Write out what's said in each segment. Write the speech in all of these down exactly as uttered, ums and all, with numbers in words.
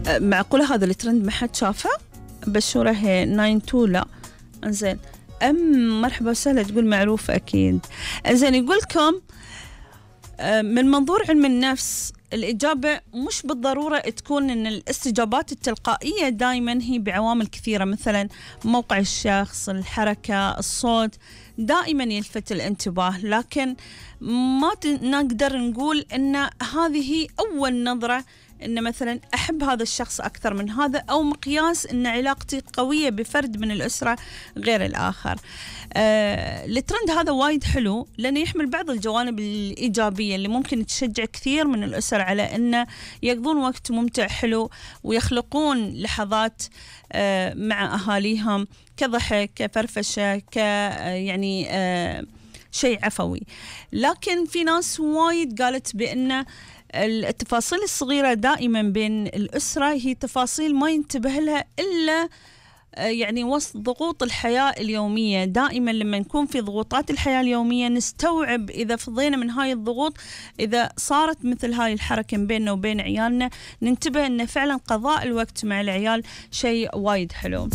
معقولة هذا الترند ما حد شافه؟ بشورة هي ناين تو لا. انزين ام مرحبا وسهلا تقول معروف اكيد. انزين يقول لكم من منظور علم النفس الإجابة مش بالضرورة تكون إن الاستجابات التلقائية دائما هي بعوامل كثيرة، مثلا موقع الشخص، الحركة، الصوت دائما يلفت الانتباه، لكن ما نقدر نقول إن هذه هي أول نظرة إن مثلا أحب هذا الشخص أكثر من هذا، أو مقياس إن علاقتي قوية بفرد من الأسرة غير الآخر. آه، الترند هذا وايد حلو لأنه يحمل بعض الجوانب الإيجابية اللي ممكن تشجع كثير من الأسر على أنه يقضون وقت ممتع حلو ويخلقون لحظات آه مع أهاليهم كضحك كفرفشة ك يعني آه شيء عفوي. لكن في ناس وايد قالت بأن التفاصيل الصغيرة دائما بين الأسرة هي تفاصيل ما ينتبه لها إلا يعني وسط ضغوط الحياة اليومية. دائما لما نكون في ضغوطات الحياة اليومية نستوعب إذا فضينا من هاي الضغوط، إذا صارت مثل هاي الحركة بيننا وبين عيالنا ننتبه أن فعلا قضاء الوقت مع العيال شيء وايد حلو.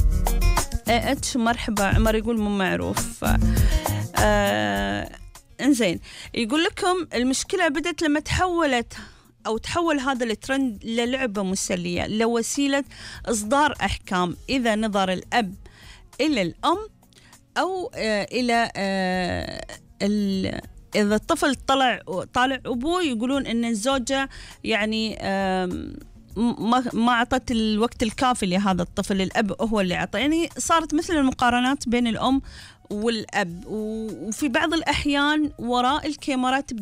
اتش مرحبا عمر يقول مو معروف. آه انزين يقول لكم المشكلة بدت لما تحولت أو تحول هذا الترند للعبة مسلية، لوسيلة إصدار أحكام. إذا نظر الأب إلى الأم أو آه إلى آه إذا الطفل طلع طالع أبوه يقولون إن الزوجة يعني آه ما ما أعطت الوقت الكافي لهذا الطفل، الأب هو اللي أعطى. يعني صارت مثل المقارنات بين الأم والأب، وفي بعض الأحيان وراء الكاميرات